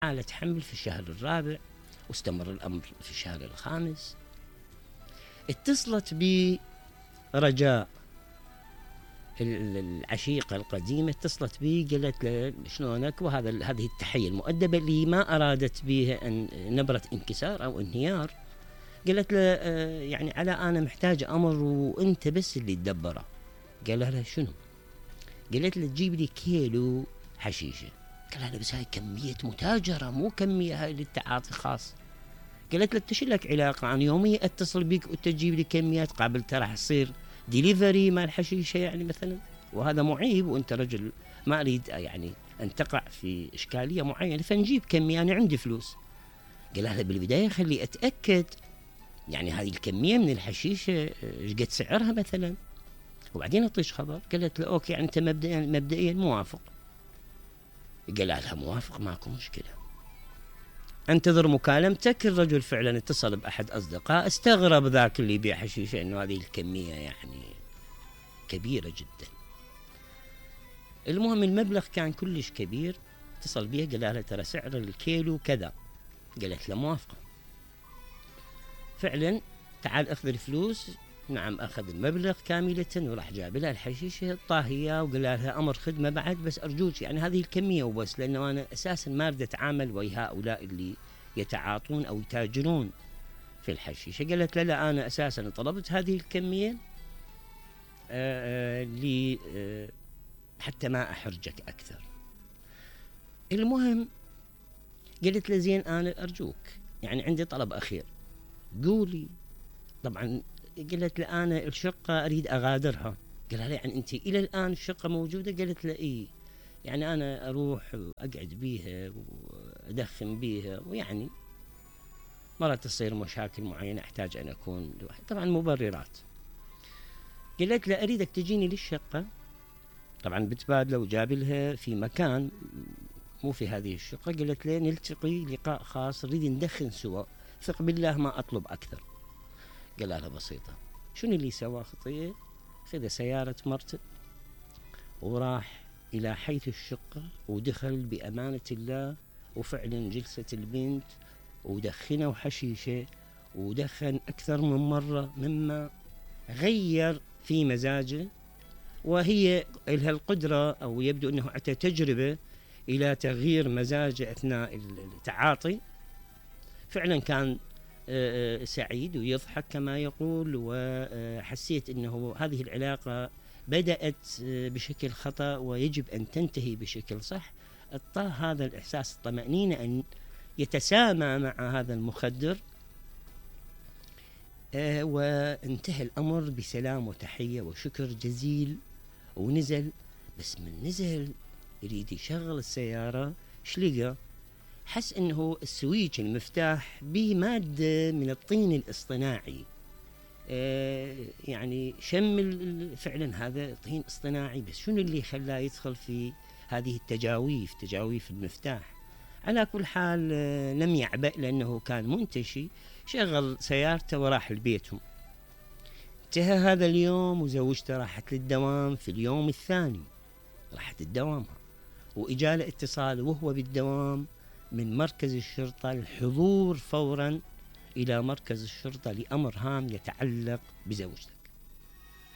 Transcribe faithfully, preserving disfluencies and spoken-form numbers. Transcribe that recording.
حالة حمل في الشهر الرابع، واستمر الأمر في الشهر الخامس. اتصلت بي رجاء العشيقة القديمة، اتصلت بي قالت له شلونك، وهذا هذه التحية المؤدبة اللي ما أرادت بها أن نبرة انكسار أو انهيار. قالت له آه يعني علاء أنا محتاج أمر وأنت بس اللي تدبره. قال لها شنو؟ قالت له تجيب لي كيلو حشيشة. قال لها بس هاي كمية متاجرة، مو كمية هاي للتعاطي خاص. قالت له انت لك علاقة، أنا يوميا اتصل بك وانت تجيب لي كميات، قابل ترى راح تصير ديليفري مال حشيشة يعني مثلا، وهذا معيب، وانت رجل ما اريد يعني ان تقع في اشكالية معينة، فنجيب كمية انا عندي فلوس. قال لها بالبداية خلي اتأكد يعني هذه الكمية من الحشيشة ايش قد سعرها مثلا، وبعدين اعطيش خبر. قالت له اوكي يعني انت مبدئيا مبدئيا موافق. قال لها موافق ماكو مشكلة، انتظر مكالمتك. الرجل فعلا اتصل بأحد أصدقاء، استغرب ذاك اللي يبيع حشيشة انه هذه الكمية يعني كبيرة جدا. المهم المبلغ كان كلش كبير، اتصل بيها قال لها ترى سعر الكيلو كذا. قالت له موافقة. فعلا تعال اخذ الفلوس. نعم اخذ المبلغ كاملة وراح جاب لها الحشيشة طاهية، وقال لها امر خدمة بعد، بس ارجوك يعني هذه الكمية وبس، لانه انا اساسا ما اريد اتعامل ويا هؤلاء اللي يتعاطون او يتاجرون في الحشيشة. قالت لا لا انا اساسا طلبت هذه الكمية آآ آآ لي آآ حتى ما احرجك اكثر. المهم قالت له زين انا ارجوك يعني عندي طلب اخير قولي. طبعا قالت له انا الشقة اريد اغادرها. قال لها يعني انت الى الان الشقة موجودة؟ قالت له اي يعني انا اروح واقعد بيها وادخن بيها، ويعني مرات تصير مشاكل معينة احتاج ان اكون لوحدي، طبعا مبررات. قالت له اريدك تجيني للشقة. طبعا بتبادله وجاب لها في مكان مو في هذه الشقة. قالت له نلتقي لقاء خاص نريد ندخن سوا، ثق بالله ما اطلب اكثر. قال لها بسيطة. شنو اللي سواه خطية؟ خذ سيارة مرته وراح الى حيث الشقة ودخل بامانة الله، وفعلا جلست البنت ودخنوا حشيشة، ودخن اكثر من مرة مما غير في مزاجه، وهي لها القدرة او يبدو انه اتى تجربة الى تغيير مزاجه اثناء التعاطي. فعلا كان سعيد ويضحك كما يقول، وحسيت انه هذه العلاقة بدأت بشكل خطأ ويجب ان تنتهي بشكل صح. اعطاه هذا الاحساس الطمأنينة ان يتسامى مع هذا المخدر، وانتهى الامر بسلام وتحية وشكر جزيل. ونزل، بس من نزل يريد يشغل السيارة شلقى حس انه السويتش المفتاح به مادة من الطين الاصطناعي. آه يعني شم فعلا هذا طين اصطناعي، بس شنو اللي خلاه يدخل في هذه التجاويف تجاويف المفتاح؟ على كل حال آه لم يعبأ لانه كان منتشي، شغل سيارته وراح لبيتهم. انتهى هذا اليوم وزوجته راحت للدوام. في اليوم الثاني راحت الدوامها، واجاله اتصال وهو بالدوام من مركز الشرطة الحضور فورا إلى مركز الشرطة لأمر هام يتعلق بزوجته.